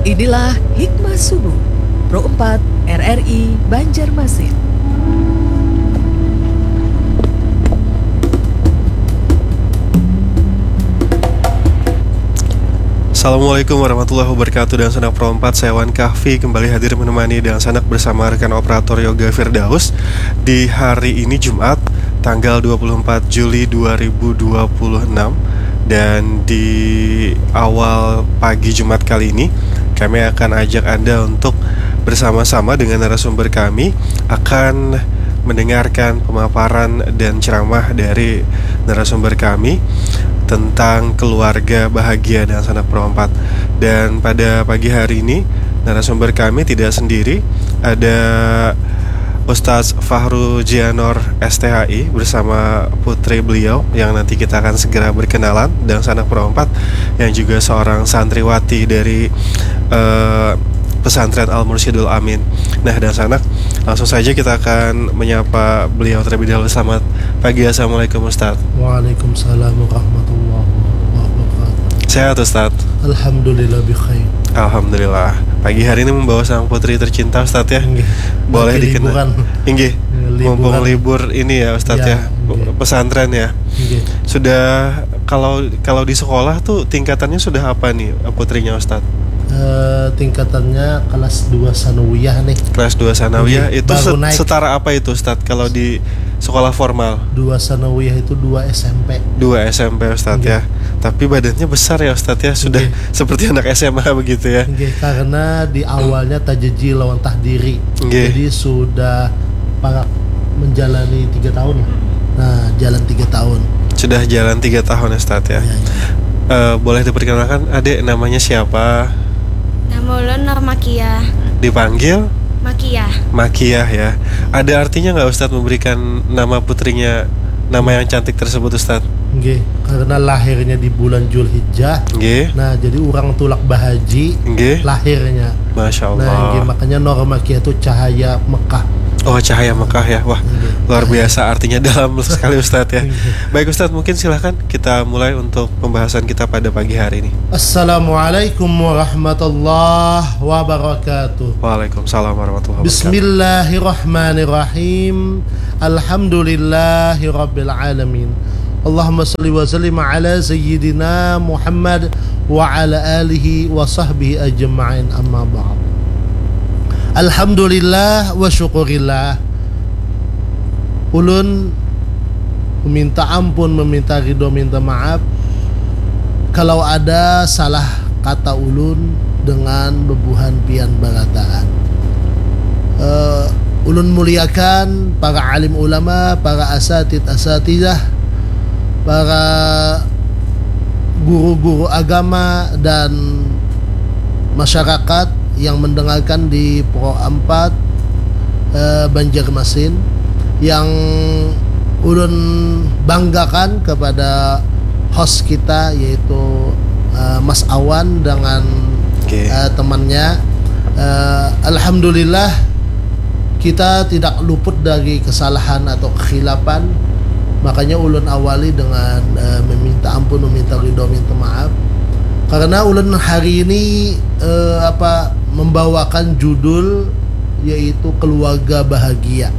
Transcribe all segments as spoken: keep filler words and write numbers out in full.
Inilah Hikmah Subuh, Pro empat R R I Banjarmasin. Assalamualaikum warahmatullahi wabarakatuh. Dangsanak Pro empat, saya Wan Kahfi kembali hadir menemani dangsanak bersama rekan operator Yoga Firdaus di hari ini, Jumat, tanggal dua puluh empat Juli dua ribu dua puluh enam. Dan di awal pagi Jumat kali ini, kami akan ajak Anda untuk bersama-sama dengan narasumber kami akan mendengarkan pemaparan dan ceramah dari narasumber kami tentang keluarga bahagia dangsanak Pro empat. Dan pada pagi hari ini, narasumber kami tidak sendiri, ada Ustadz Fahru Jianor, S T H I, bersama putri beliau yang nanti kita akan segera berkenalan, dangsanak Pro empat, yang juga seorang santriwati dari, eh, pesantren Al Mursyidul Amin. Nah, dangsanak, langsung saja kita akan menyapa beliau terlebih dahulu. Selamat pagi, assalamualaikum, Ustadz. Waalaikumsalam warahmatullahi wabarakatuh. Sehat, Ustadz? Alhamdulillah, bikhair. Alhamdulillah. Pagi hari ini membawa sang putri tercinta, Ustadz, ya. Inggih. Boleh lagi dikenal. Liburan. Inggih. Liburan. Mumpung libur ini, ya, Ustadz, ya, ya. Inggih. Pesantren, ya. Inggih. Sudah, kalau, kalau di sekolah tuh tingkatannya sudah apa nih, putrinya, Ustadz? Eh, tingkatannya kelas dua sanawiyah nih. Kelas dua sanawiyah. Inggih. Itu baru set-, naik. Setara apa itu, Ustadz, kalau di sekolah formal? Dua sanawiyah itu dua S M P. Dua S M P, Ustadz, ya. Inggih. Tapi badannya besar ya, Ustadz, ya. Sudah, inggih, seperti anak S M A begitu, ya. Inggih, karena di awalnya tajaji lawan tahdiri. Inggih. Jadi sudah parak menjalani tiga tahun lah. Nah, jalan tiga tahun. Sudah jalan tiga tahun, Ustadz, ya. Iya, iya. Eh, boleh diperkenalkan, Adik, namanya siapa? Nama ulun Normakia. Dipanggil? Makiah. Makiah, ya. Ada artinya nggak, Ustadz, memberikan nama putrinya nama yang cantik tersebut, Ustadz? Nggih, karena lahirnya di bulan Julhijjah. Nggih. Nah, jadi urang tulak bahaji, nggih, lahirnya. Masya Allah. Nah, nggih, makanya Normakia itu cahaya Mekah. Oh, cahaya Mekah, ya. Wah, nggih, luar biasa, artinya dalam sekali, Ustadz, ya. Nggih. Baik, Ustadz, mungkin silahkan kita mulai untuk pembahasan kita pada pagi hari ini. Assalamualaikum warahmatullahi wabarakatuh. Waalaikumsalam warahmatullahi wabarakatuh. Bismillahirrahmanirrahim. Alhamdulillahirabbil alamin. Allahumma shalli wa sallim ala sayyidina Muhammad wa ala alihi wa sahbihi ajma'in, amma ba'd. Alhamdulillah wa syukurillah. Ulun meminta ampun, meminta ridho, minta maaf kalau ada salah kata ulun dengan bebuhan pian barataan. Eh, ulun muliakan para alim ulama, para asatid asatidah, para guru-guru agama dan masyarakat yang mendengarkan di Pro empat, eh, Banjarmasin, yang ulun banggakan kepada host kita, yaitu, eh, Mas Awan dengan, oke, eh, temannya. Eh, alhamdulillah, kita tidak luput dari kesalahan atau kekhilafan. Makanya ulun awali dengan, eh, meminta ampun, meminta ridho, minta maaf. Karena ulun hari ini, eh, apa, membawakan judul yaitu keluarga bahagia.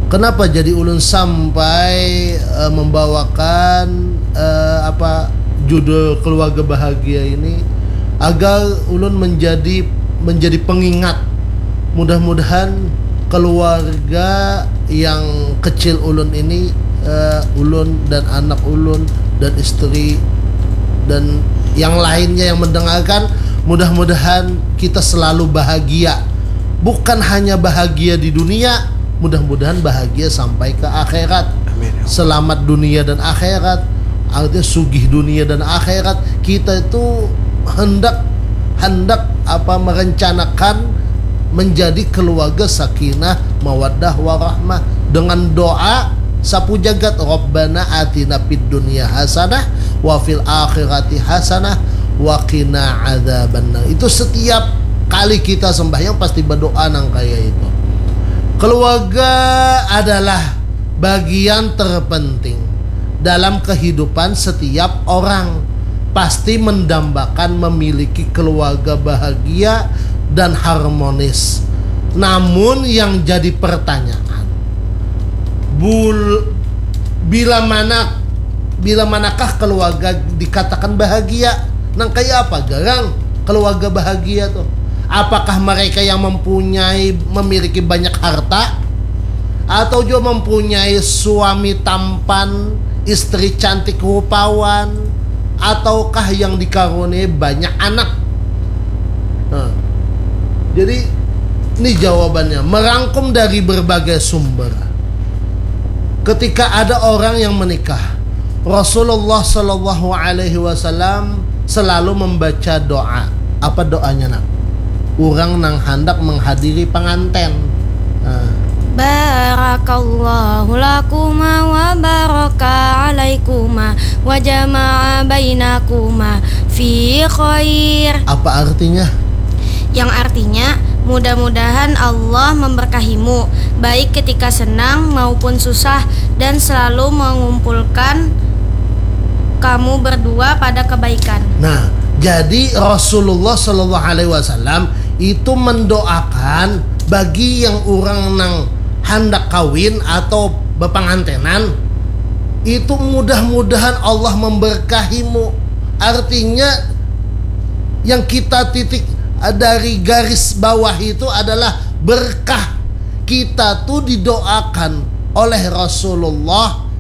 Kenapa jadi ulun sampai, eh, membawakan, eh, apa, judul keluarga bahagia ini? Agar ulun menjadi, menjadi pengingat. Mudah-mudahan keluarga yang kecil ulun ini, eh, ulun dan anak ulun dan istri dan yang lainnya yang mendengarkan, mudah-mudahan kita selalu bahagia. Bukan hanya bahagia di dunia, mudah-mudahan bahagia sampai ke akhirat. Amin, ya Allah. Selamat dunia dan akhirat, artinya sugih dunia dan akhirat. Kita itu hendak, hendak apa, merencanakan menjadi keluarga sakinah, mawaddah, warahmah dengan doa sapu jagat, Rabbana atina fid dunya hasanah wa fil akhirati hasanah wa qina adzabannar. Itu setiap kali kita sembahyang pasti berdoa nang kaya itu. Keluarga adalah bagian terpenting dalam kehidupan setiap orang. pasti mendambakan memiliki keluarga bahagia dan harmonis. Namun yang jadi pertanyaan, bul bila mana bila manakah keluarga dikatakan bahagia? Nang kayak apa garang keluarga bahagia tuh? Apakah mereka yang mempunyai memiliki banyak harta, atau juga mempunyai suami tampan, istri cantik rupawan, ataukah yang dikaruniai banyak anak? Nah, jadi ini jawabannya merangkum dari berbagai sumber. Ketika ada orang yang menikah, Rasulullah Shallallahu Alaihi Wasallam selalu membaca doa. Apa doanya nak? Orang nang hendak menghadiri pengantin. Nah. Barakallahu lakuma wa baraka alaikuma wa jama'a bainakuma fi khair. Apa artinya? Yang artinya, mudah-mudahan Allah memberkahimu, baik ketika senang maupun susah, dan selalu mengumpulkan kamu berdua pada kebaikan. Nah, jadi Rasulullah Shallallahu Alaihi Wasallam itu mendoakan bagi yang orang nang hendak kawin atau berpengantenan itu mudah-mudahan Allah memberkahimu. Artinya yang kita titik dari garis bawah itu adalah berkah. Kita tuh didoakan oleh Rasulullah.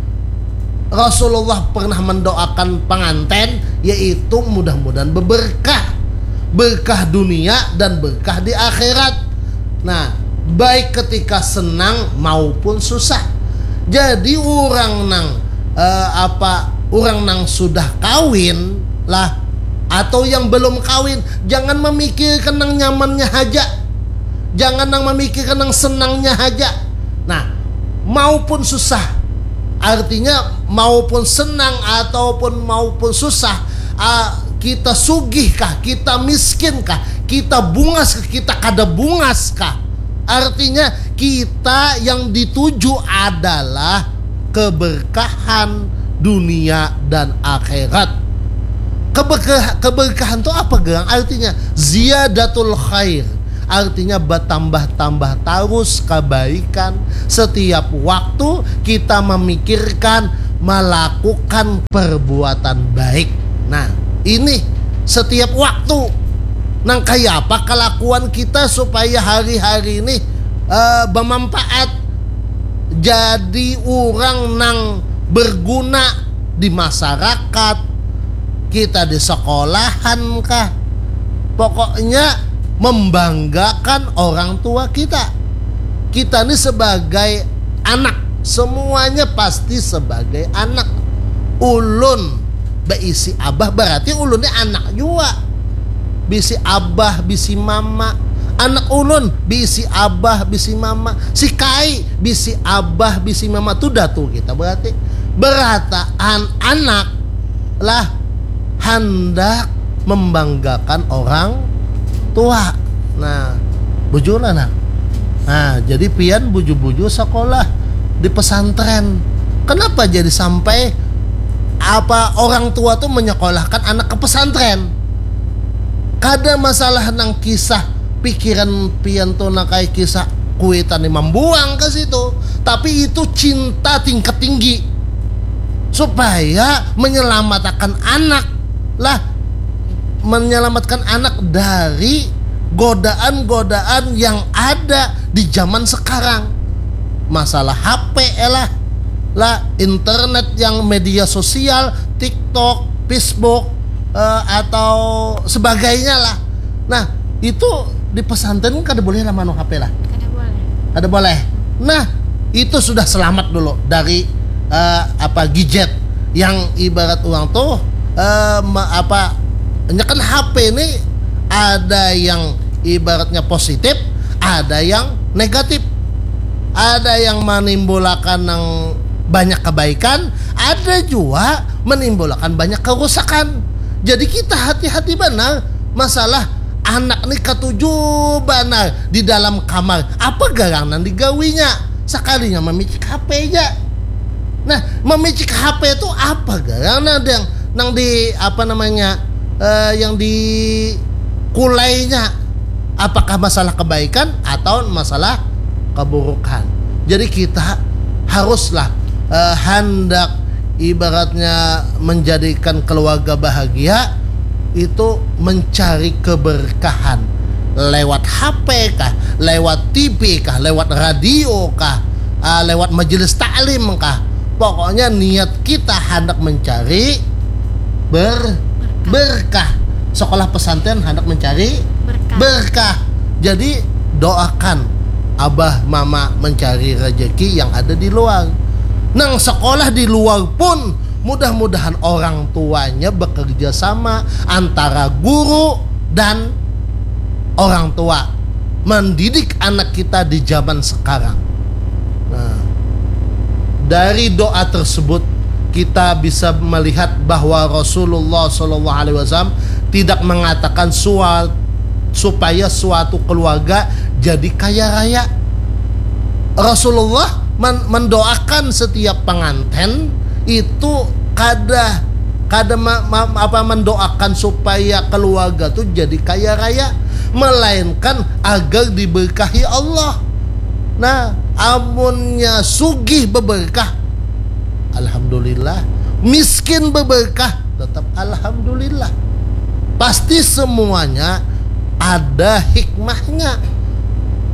Rasulullah pernah mendoakan pengantin, yaitu mudah-mudahan berberkah, berkah dunia dan berkah di akhirat. Nah, baik ketika senang maupun susah. Jadi orang nang eh, apa orang nang sudah kawin lah atau yang belum kawin, jangan memikirkan nang nyamannya haja. Jangan nang memikirkan nang senangnya haja. Nah, maupun susah. Artinya maupun senang ataupun maupun susah, ah, kita sugih kah, kita miskin kah, kita bungas kah, kita kada bungas kah. Artinya kita yang dituju adalah keberkahan dunia dan akhirat. Keberkah, keberkahan itu apa gerang? Artinya ziyadatul khair. Artinya bertambah-tambah terus kebaikan. Setiap waktu kita memikirkan melakukan perbuatan baik. Nah, ini setiap waktu. Nang kaya apa kelakuan kita supaya hari-hari ini uh, bermanfaat, jadi orang nang berguna di masyarakat, kita di sekolahan kah, pokoknya membanggakan orang tua kita. Kita ini sebagai anak, semuanya pasti sebagai anak. Ulun beisi abah berarti ulun ini anak juga. Bisi abah, bisi mama. Anak ulun bisi abah, bisi mama. Si kai bisi abah, bisi mama. Tu datu kita berarti. Berataan anak lah handak membanggakan orang tua. Nah, bujur lah nah. Nah, jadi pian buju-buju sekolah di pesantren. Kenapa jadi sampai apa orang tua tuh menyekolahkan anak ke pesantren? Kada masalah nang kisah pikiran pian tuh nang kayak kisah kuitan yang membuang ke situ, tapi itu cinta tingkat tinggi supaya menyelamatkan anak lah, menyelamatkan anak dari godaan-godaan yang ada di zaman sekarang. Masalah H P lah, lah internet yang media sosial, TikTok, Facebook, eh, atau sebagainya lah. Nah, itu di pesantren kan kada boleh lah manu H P lah. Kada boleh. Kada boleh. Nah, itu sudah selamat dulu dari eh, apa gadget yang ibarat orang tuh eh, me- apa nyekan H P ini ada yang ibaratnya positif, ada yang negatif. Ada yang menimbulkan yang banyak kebaikan, ada juga menimbulkan banyak kerusakan. Jadi kita hati-hati benar masalah anak nih ketujuh benar di dalam kamar. Apa garang nang digawinya? Sekalinya memicik H P aja. Nah, memicik H P itu apa garang nang yang nang di apa namanya uh, yang dikulainya, apakah masalah kebaikan atau masalah keburukan. Jadi kita haruslah uh, hendak ibaratnya menjadikan keluarga bahagia itu mencari keberkahan lewat H P kah, lewat T V kah, lewat radio kah, uh, lewat majelis taklim kah. Pokoknya niat kita hendak mencari ber berkah. Sekolah pesantren hendak mencari berkah. berkah. Jadi doakan abah mama mencari rezeki yang ada di luar. Nang sekolah di luar pun mudah-mudahan orang tuanya bekerja sama antara guru dan orang tua mendidik anak kita di zaman sekarang. Nah, dari doa tersebut kita bisa melihat bahwa Rasulullah Shallallahu Alaihi Wasallam tidak mengatakan suatu supaya suatu keluarga jadi kaya raya. Rasulullah men mendoakan setiap pengantin itu kada kada ma ma apa mendoakan supaya keluarga tuh jadi kaya raya, melainkan agar diberkahi Allah. Nah, amunnya sugih beberkah, alhamdulillah. Miskin beberkah, tetap alhamdulillah. Pasti semuanya ada hikmahnya.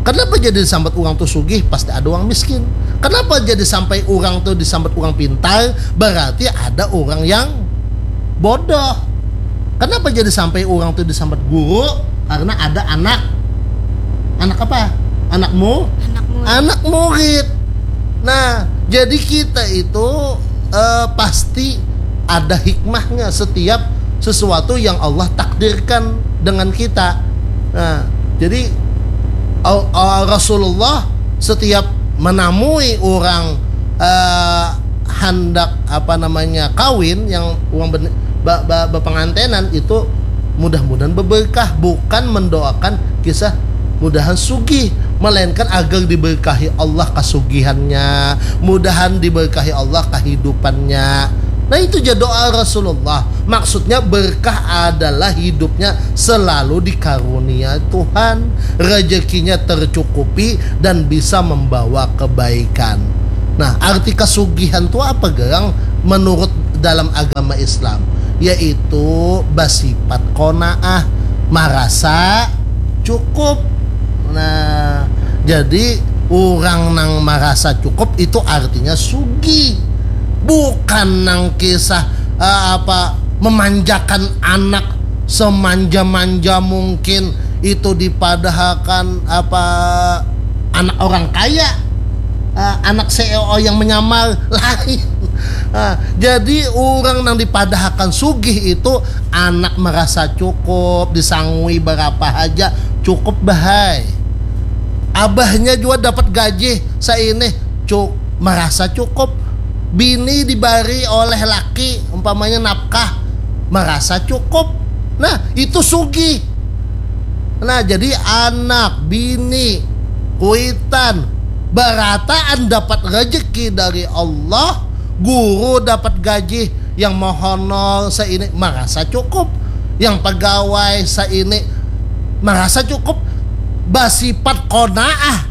Kenapa jadi disambat orang tuh sugih, pasti ada orang miskin? Kenapa jadi sampai orang tuh disambat orang pintar? Berarti ada orang yang bodoh. Kenapa jadi sampai orang tuh disambat guru? Karena ada anak. Anak apa? Anakmu? Anak murid. Anak murid. Nah, jadi kita itu uh, pasti ada hikmahnya setiap sesuatu yang Allah takdirkan dengan kita. Nah, jadi uh, Rasulullah setiap menamui orang uh, handak apa namanya kawin yang uang berpengantenan itu mudah-mudahan berberkah, bukan mendoakan kisah mudahan sugih, melainkan agar diberkahi Allah kasugihannya, mudahan diberkahi Allah kehidupannya. Nah, itu aja doa Rasulullah. Maksudnya berkah adalah hidupnya selalu dikarunia Tuhan, rezekinya tercukupi dan bisa membawa kebaikan. Nah, arti kasugihan itu apa, Garang? Menurut dalam agama Islam, yaitu bersifat qanaah, merasa cukup. Nah, jadi orang nang merasa cukup itu artinya sugih. Bukan nang kisah uh, apa memanjakan anak semanja-manja mungkin itu dipadahakan apa anak orang kaya, uh, anak C E O yang menyamar lain. Uh, jadi orang yang dipadahakan sugih itu anak merasa cukup, disangui berapa aja cukup bahai. Abahnya juga dapat gaji saini cuk merasa cukup. Bini dibari oleh laki umpamanya nafkah merasa cukup. Nah, itu sugih. Nah, jadi anak, bini, kuitan, barataan dapat rezeki dari Allah, guru dapat gaji, yang mohonol seini merasa cukup, yang pegawai seini merasa cukup, bersifat qanaah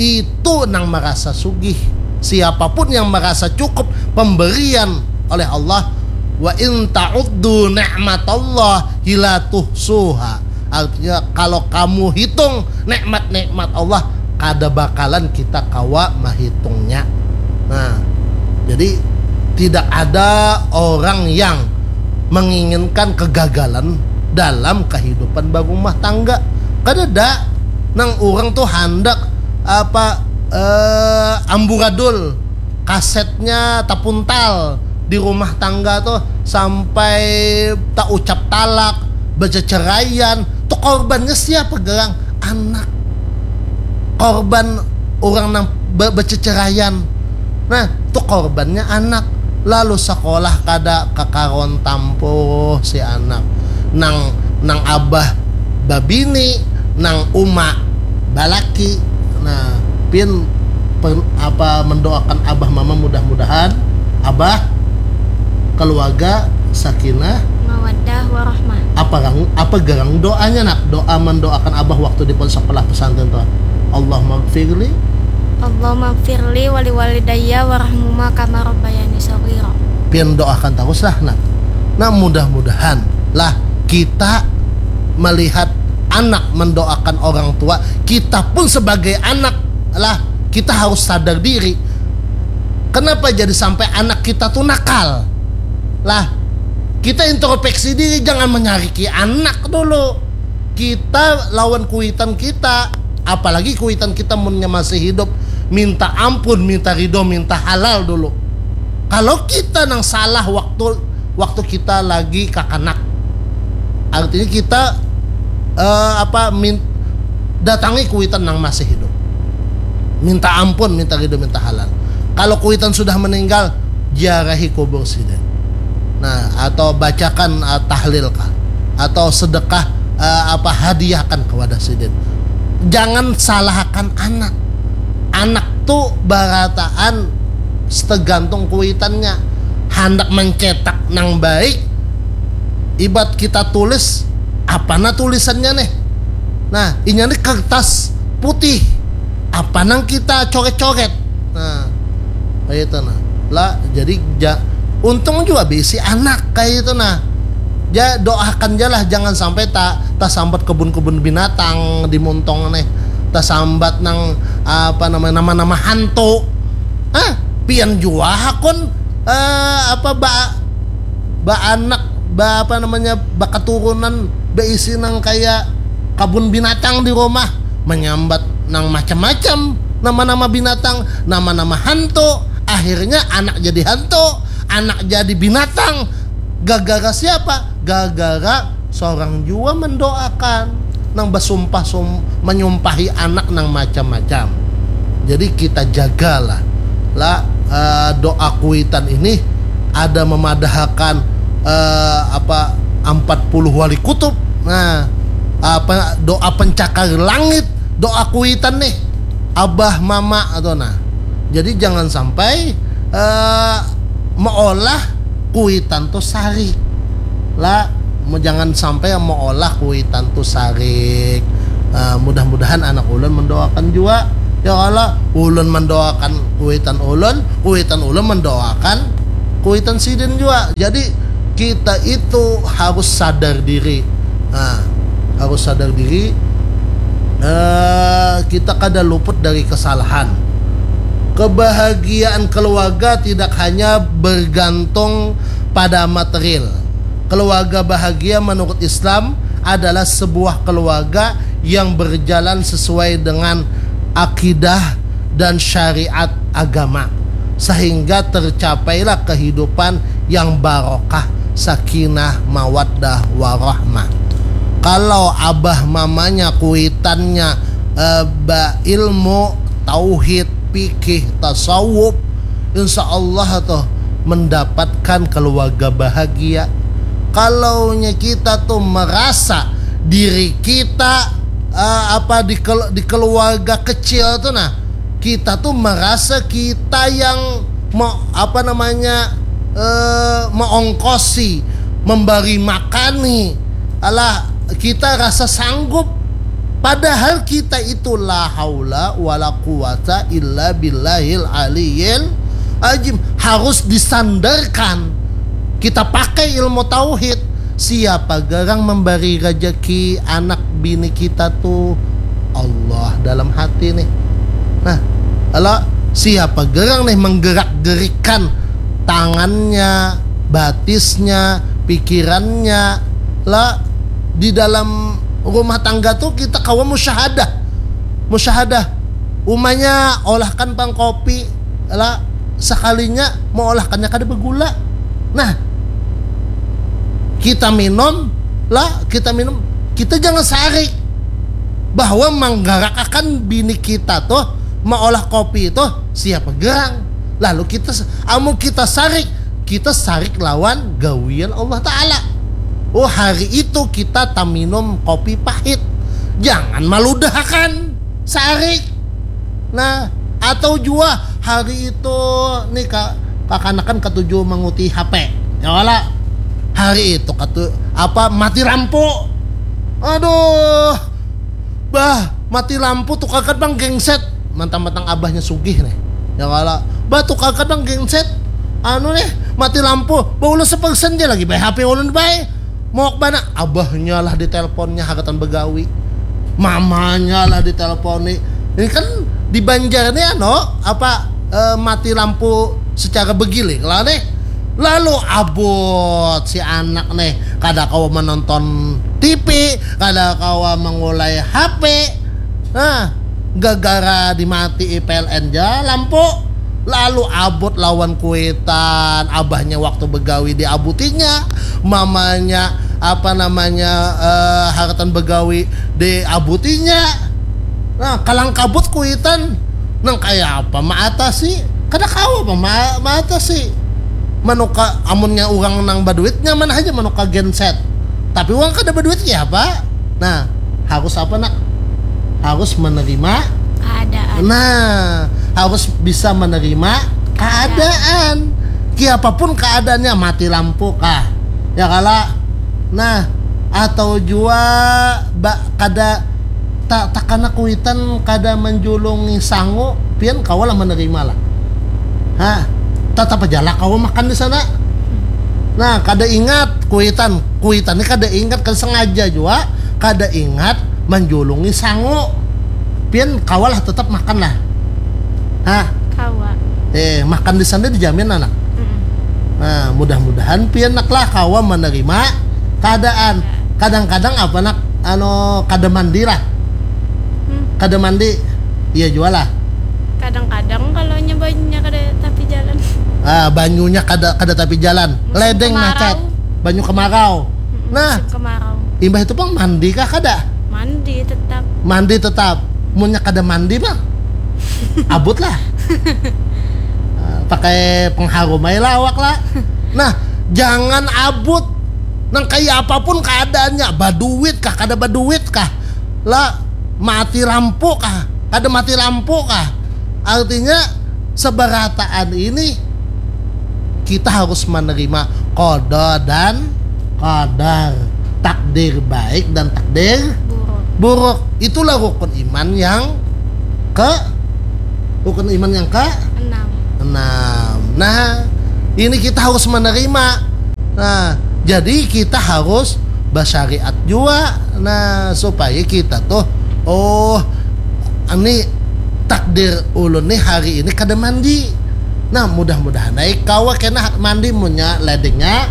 itu nang merasa sugih. Siapapun yang merasa cukup pemberian oleh Allah, wa in ta'uddu ni'matallahi la tuhsuha. Artinya kalau kamu hitung nikmat-nikmat Allah, kada bakalan kita kawa mahitungnya. Nah, jadi tidak ada orang yang menginginkan kegagalan dalam kehidupan berumah tangga. Kadada nang orang tuh handak apa eh, amburadul kasetnya tapuntal di rumah tangga tuh sampai tak ucap talak, berceceraian, tuh korbannya siapa Garang? Anak. Korban orang nang be- berceceraian. Nah, tuh korbannya anak. Lalu sekolah kada kakaron tampuh si anak. Nang nang abah babini, nang uma balaki. Nah, pin per, apa mendoakan abah mama mudah-mudahan abah Keluarga sakinah. Mawaddah warahmah. Apa garang, apa garang doanya, Nak? Doa mendoakan abah waktu di pondok sekolah pesantren tuh. Allahumma gfirli. Allahumma gfirli wali walidayya warhamhuma kama rabbayani shaghira. Pian doakan terus lah, Nak. Nah, mudah-mudahan lah kita melihat anak mendoakan orang tua, kita pun sebagai anak lah kita harus sadar diri. Kenapa jadi sampai anak kita tuh nakal? Lah, kita introspeksi diri, jangan menyariki anak dulu. Kita lawan kuitan kita, apalagi kuitan kita munnya masih hidup, minta ampun, minta ridho, minta halal dulu. Kalau kita nang salah waktu waktu kita lagi kakanak, artinya kita eh, apa min, datangi kuitan nang masih hidup, minta ampun, minta ridho, minta halal. Kalau kuitan sudah meninggal, ziarahi kubur sidin, nah, atau bacakan uh, tahlil kah, atau sedekah uh, apa hadiahkan kepada sidin. Jangan salahkan anak. Anak tuh barataan setegantung kuitannya. Hendak mencetak nang baik, ibat kita tulis apa nah tulisannya nih. Nah, inya nih kertas putih, apa nang kita coret-coret. Nah, kayak itu nah. Lah, jadi ja, untung juga bisi anak kayak itu nah. Ja, doakan jalah, jangan sampai tak tasambat kebun-kebun binatang di Muntong nih, tasambat nang apa namanya, nama-nama hantu. Ah, pian jua hakun eh, apa ba ba anak ba apa namanya, ba keturunan, baisi nang kayak kabun binatang di rumah, menyambat nang macam-macam, nama-nama binatang, nama-nama hantu. Akhirnya anak jadi hantu, anak jadi binatang. Gagara siapa? Gagara seorang jua mendoakan, nang basumpah sum, menyumpahi anak nang macam-macam. Jadi kita jagalah lah uh, doa kuitan ini. Ada memadahakan uh, apa, empat puluh wali kutub. Nah, apa, doa pencakar langit, doa kuitan nih, abah mama atau nah. Jadi jangan sampai uh, meolah kuitan tuh sarik lah. Jangan sampai meolah kuitan tuh sarik. Uh, mudah-mudahan anak ulun mendoakan juga, ya Allah, ulun mendoakan kuitan ulun, kuitan ulun mendoakan kuitan sidin juga. Jadi kita itu harus sadar diri. Nah, harus sadar diri. Uh, kita kada luput dari kesalahan. Kebahagiaan keluarga tidak hanya bergantung pada material. Keluarga bahagia menurut Islam adalah sebuah keluarga yang berjalan sesuai dengan akidah dan syariat agama, sehingga tercapailah kehidupan yang barokah, sakinah, mawaddah, warahmah. Kalau abah mamanya kuitannya eh, ba ilmu tauhid, fikih, tasawuf, insya Allah tuh mendapatkan keluarga bahagia. Kalaunya kita tuh merasa diri kita uh, apa di, di keluarga kecil tuh nah, kita tuh merasa kita yang mau apa namanya uh, mengongkosi, memberi makani, alah kita rasa sanggup. Padahal kita itu la haula wala quwata illa billahil aliyil ajim. Harus disandarkan. Kita pakai ilmu tauhid. Siapa garang memberi rezeki anak bini kita tuh? Allah dalam hati nih. Nah, Allah siapa garang nih menggerak-gerikan tangannya, batisnya, pikirannya lah di dalam rumah tangga tuh kita kawa musyahadah. Musyahadah. Umanya olahkan pang kopi lah, sekalinya mau olahkannya kada bergula. Nah, kita minum lah, kita minum, kita jangan sarik bahwa menggerak akan bini kita tuh maolah kopi itu siapa gerang. Lalu kita amun kita sarik, kita sarik lawan gawian Allah Ta'ala. Oh, hari itu kita taminum kopi pahit. Jangan maludahakan sarik. Nah, atau jua hari itu nih ka, kakanakan katuju manguti H P. Ya wala, hari itu katu apa mati lampu. Aduh, bah, mati lampu tukarkan bang genset. Mantang-mantang abahnya sugih nih. Ya wala, bah, tukarkan bang genset. Anu nih, mati lampu. Bah, ulun sepersen aja lagi, bah, H P ulun, bah. Mau ke mana? Abahnya lah ditelepon, hagatan begawi. Mamanya lah diteleponi. Ini kan di Banjar nih, anu, apa, eh, mati lampu secara bergilir lah nih. Lalu abut si anak nih, kada kawa menonton T V, kada kawa mengulai H P. Nah, gara-gara dimati P L N ja lampu. Lalu abut lawan kuitan, abahnya waktu begawi diabutinya, mamanya apa namanya, eh, hagatan begawi diabutinya. Nah, kalang kabut kuitan, nang kaya apa maatasi? Kada kawa apa ma- maatasi. Manuka amunnya urang nang baduit nyaman haja manuka genset. Tapi urang kada baduit kaya apa? Nah, harus apa, nak? Harus menerima keadaan. Nah, harus bisa menerima keadaan. Kiapapun keadaannya, mati lampu kah? Ya kala? Nah, atau jua ba, kada ta, takana kuitan kada menjulungi sangu, pian kawa lah menerima lah. Ha, tetap aja lah kawa makan di sana. Nah, kada ingat kuitan, kuitan ni kada ingat, kada sengaja jua, kada ingat menjulungi sangu. Pian kawa lah tetap makan lah. Ha, Kawa. Eh, makan di sana dijamin, anak. Mm-mm. Nah, mudah-mudahan pian, nak, lah kawa menerima keadaan. Kadang-kadang apa, nak, anu, kada mandi lah. Hmm. Kada mandi. Iya jua lah. Kadang-kadang kalau nya banyunya kada tapi jalan. Ah, banyunya kada kada tapi jalan. Musim Ledeng kemarau. Macet. Banyu kemarau. Mm-mm, Nah, musim kemarau. Imbah itu pang mandi kah kada? Mandi tetap. Mandi tetap. Munnya kada mandi mah abut lah. Ah, pakai pengharum aja lah awak lah. Nah, jangan abut. Nang kaya apapun keadaannya, baduit kah, kada baduit kah, lah, mati lampu kah, kada mati lampu kah, artinya seberataan ini kita harus menerima qada dan qadar, takdir baik dan takdir Buruk. buruk. Itulah rukun iman yang ke rukun iman yang ke Enam. enam. Nah, ini kita harus menerima. Nah, jadi kita harus bersyariat juga. Nah, supaya kita tuh, oh, ini takdir ulun nih hari ini kada mandi. Nah, mudah-mudahan naik kawa kena mandi, munnya ledengnya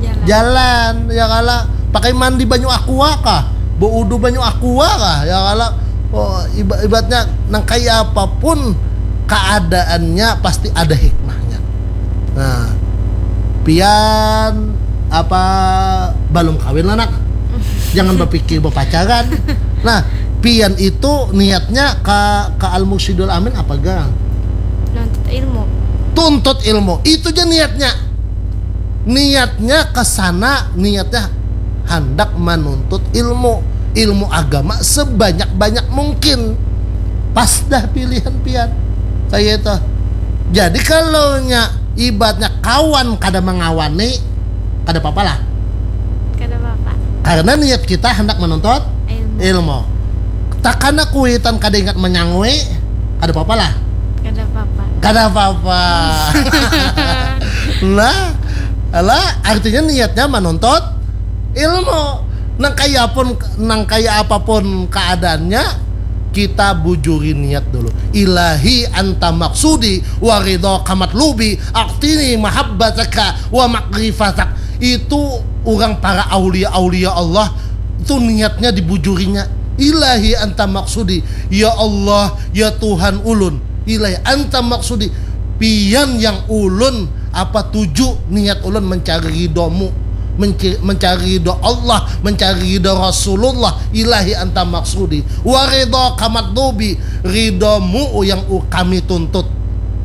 Jalan. jalan, ya kala, pakai mandi banyu aqua kah, beudu banyu aqua kah, ya kala. Oh, iba- ibaratnya nang kaya apapun keadaannya pasti ada hikmahnya. Nah, pian apa belum kawin lah, nak? Jangan berpikir berpacaran. Nah, pian itu niatnya ke ke Al Mursyidul Amin apa gang? Nuntut ilmu. Tuntut ilmu, itu aja niatnya. Niatnya ke sana, niatnya hendak menuntut ilmu, ilmu agama sebanyak-banyak mungkin. Pas dah pilihan pian kayak itu. Jadi kalau nya ibaratnya kawan kada mengawani, kada apa-apa lah. Kada apa-apa. Karena niat kita hendak menuntut Ilmu. ilmu. Takana kuitan kada ingat menyangui, kada apa-apa lah. Kada apa-apa. Kada apa-apa. Nah, lah, artinya niatnya menuntut ilmu. Nang kaya pun, nang kaya apapun keadaannya, kita bujuri niat dulu. Ilahi anta maksudi wa ridha kamatlubi, aktini mahabbataka wa makrifatak. Itu orang para aulia-aulia Allah itu niatnya dibujurinya. Ilahi anta maksudi, ya Allah, ya Tuhan ulun. Ilahi anta maksudi, pian yang ulun apa tuju, niat ulun mencari ridhomu, menci- mencari ridho Allah, mencari ridho Rasulullah. Ilahi anta maksudi, wa ridha kamatlubi, ridhomu yang u- kami tuntut,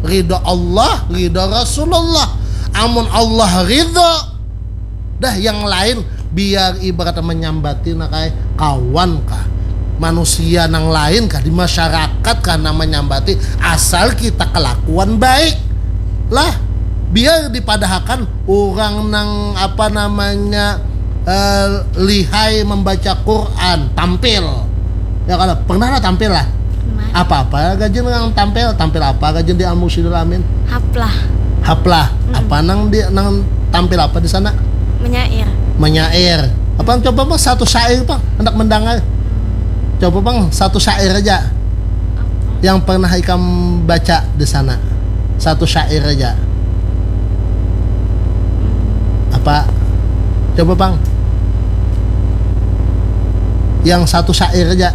ridho Allah, ridho Rasulullah. Amun Allah ridho, dah yang lain biar ibarat menyambati, nak ai, kawan kah, manusia nang lain kah, di masyarakat kah nang menyambati, asal kita kelakuan baik lah. Biar dipadahakan orang nang apa namanya eh, lihai membaca Quran tampil. Ya kalau pernah lah tampil lah. Kemarin. Apa-apa gajin nang tampil, tampil apa gajin di Al Mursyidul Amin? Haplah. Haplah. Apa nang di nang tampil apa di sana? Menyair. Menyair. Apa coba bang satu syair bang, hendak mendengar. Coba bang satu syair aja yang pernah ikam baca di sana. Satu syair aja. Apa? Coba bang. Yang satu syair aja.